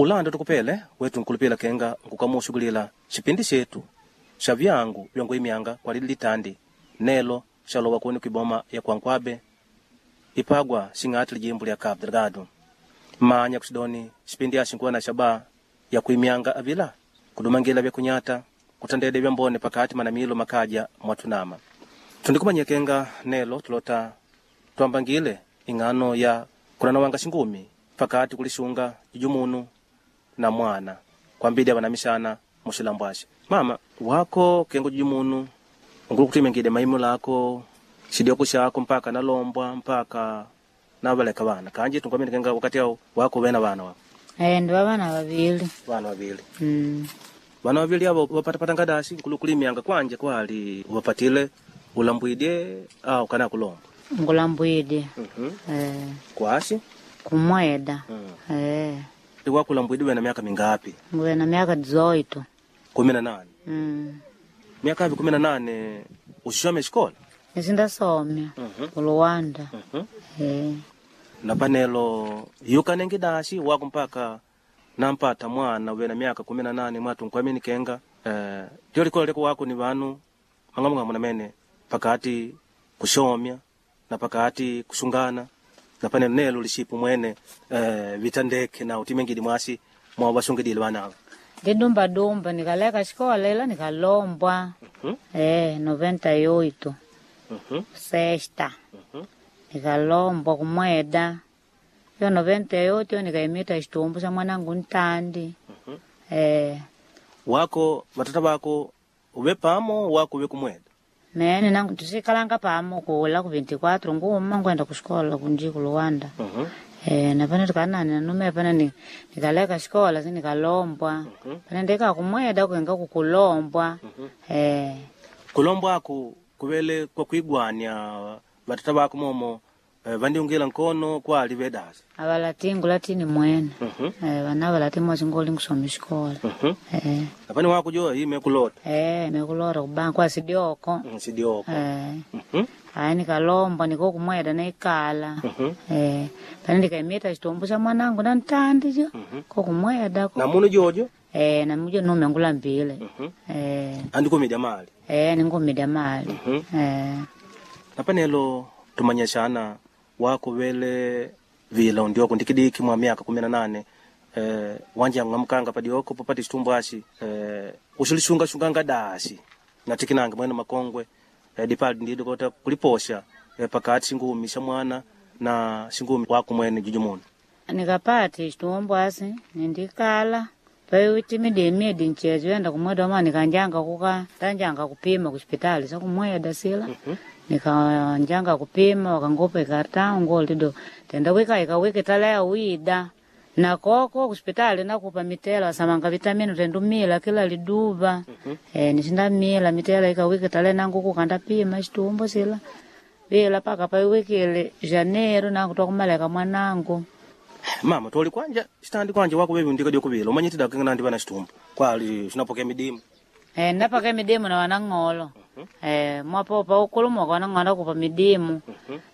Ulanda tukupele wetu nkulupila kenga nkukamushughulila xipindi xetu xa vyangu vyankuimyanga kwa lili litandi nelo xalowa kuni kwiboma ya Kwankwabe ipagwa xing'ati lijimbo lya Cabo Delgado. Manya kuxidoni xipindi axi nkuwa na xaba ya kuimyanga avila kudumangila vyakunyata kutandede vyambone pakati manamilo makaja mwatunama. Tundikumanyia kenga nelo tulota twambangile ing'ano ya kulanawanga xingumi pakati kulixunga jujumunu na mwana kwambidi avanamixana muxilambwaxe. Mama wako kengo jujumunu ungulu kutimengide maimu lako xidioko xako mpaka nalombwa mpaka navaleka vana kanji tunkwamini kenga wakati au wako vena vana wako Eh, ndi vana vavili. vana vavili Mm. vana vavili avo vapatapata ngadasi nkulu kulimyanga kwanje kwali uvapatile ulambwidye au kana kulomba. Ngulambwide. Eh, Kwasi kumweda. Eh, wakulambwidye wena miaka mingapi? nguve na miaka 18. 18. Mm. Miaka avi 18 uxixome xikola? Nisindasomya kuluwanda. Eh, Na panelo yukanenge dashi wako mpaka nampata mwana wena miaka 18 mwatu nkwamini kenga tyo likola leko wako ni vanu mang'amung'amu namene pakati kushomya na pakati kushungana na panelo nelo lishipu mwene vitandeke na utimengidi mwasi mwawasungidile vana ava. Ndidumba dumba nikaleka xikola ila nikalombwa. Eh, 98. Sexta. Nikalombwa kumweda. Yo 98 yo nikaimita xitumbu xa mwanangu ntandi. Eh, Wako vatata vako uve pamo wako uve kumweda? Mene nangu tusikalanga pamo kula ku 24 nguma ngwenda kuxikola kunji kuluwanda. Eh, napane tukanani nanume pane nikaleka xikola si nikalombwa. Pane ndika kumweda kuenga kukulombwa. Eh, Kulombwa aku kuvele kwa kuigwania vatata vako momo vandiungila nkono kwali vedasi? Avalati ngulatini mwene. Eh, vana valati mosi ngoli nkusoma xikola. Eh, Napane wako jo ime kulota? Eh, mekulora kubanka kwasidioko. Sidioko. Eh, ayi nikalombwa niko kumweda naikala. Eh, pane ndikaimita xitumbu xa mwanangu na ntandi jo kokumweda ko. Na munu jojo? Eh, namujo nume ngulambile. Eh, Andikumidya mali? Eh, ningumidya mali. Eh, Napanelo tumanyashana wako vele vila undioko ndikidiki mwa miaka 18 wanja ng'amkanga padioko popati chitumbu ashi uxilixungashunganga dasi natikinanga mwene makongwe dipali ndido kota kuliposha pakati xingumi xa mwana na xingumi wako mwene jujumunu. Nikapata xitumbu asi nindikala paiwitimidi emidi nchezo yenda kumweda ma nikanjanga kuka tanjanga kupima kuxipitali sa kumweda sila. Nikanjanga kupima wakangupa ikartau ngolido tenda wika ikawiki talaya wida na koko kuxipitali nakupa mitela wasamanga vitamini tendumila kila liduva. Eh, nixindamila mitela ikawiki tale nangu kukandapima xitumbu sila vila paka paiwikile janeiro nangu twakumaleka mwanangu. Mama toli kwanja xitandi kwanja wako vevi undika dioko vila umanyitida kenga nandi vana xitumbu kwali xinapokea midimu? Eh, napaka midimu na wanang'olo. Eh, mwapopa ukulumuka wanang'olo kupa midimu.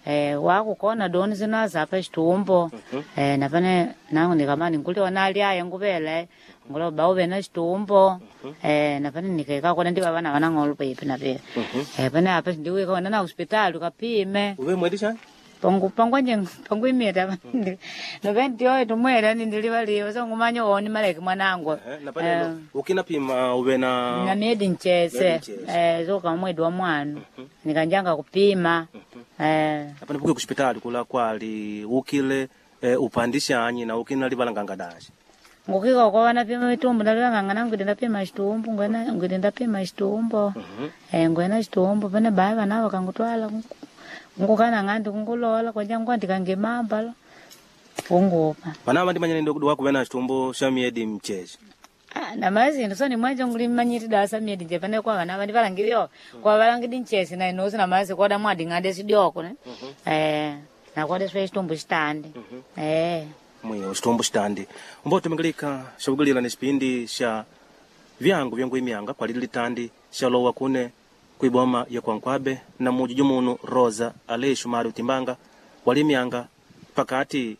Eh, wakukona doni zinazapa xitumbo. Eh, napane nangu nikamani nkuli wanali aye nguvele. Ngulo bauve na xitumbo. Eh, napane nikaika kona ndiva vana wanang'olo pipi na pipi. Eh, pane apa ndiwika wana na hospitali ukapime. Uve mwedi xani? Pangu pangwanje pangwimita. 98 mwera nindilivaliwa so ngumanya woni maleki mwanangu. Napanelo ukinapima uve Na na miedi nchese. Miedi nchese. Eh, zoka mwedi wa mwana nikanjanga kupima. Eh, napane puke kuxipitali kula kwali ukile upandishanyi na ukina livalanganga daxi? Ngukika kwa wanapima mitumbu ndalivanganga ngwide ndapima xitumbu ngwena ngwide ndapima xitumbo. Eh, ngwena xitumbu pane baya vana vakangutwala ngukana ng'andi kungulola kwanja ngwandikangimambalo kungupa. Vana vandimanya ndio wako vena xitumbu xa miedi mchezi? Ah, na mazindu so nimwajo ngulimanyiti dasa miedi nje pane kwa vana vandi valangilio kwa valangidi nchesi na inosi na mazi koda mwadi ng'ande sidioko ne. Eh, nakoda swe xitumbu xitandi. Eh. Mwiyo xitumbu xitandi umbo tumingilika xavugilila ni xipindi xa vyangu vyankuimyanga kwa lili litandi xalowa kune kuiboma ya Kwankwabe na mujuju munu Rosa Aleixo Mari Utimbanga walimyanga pakati.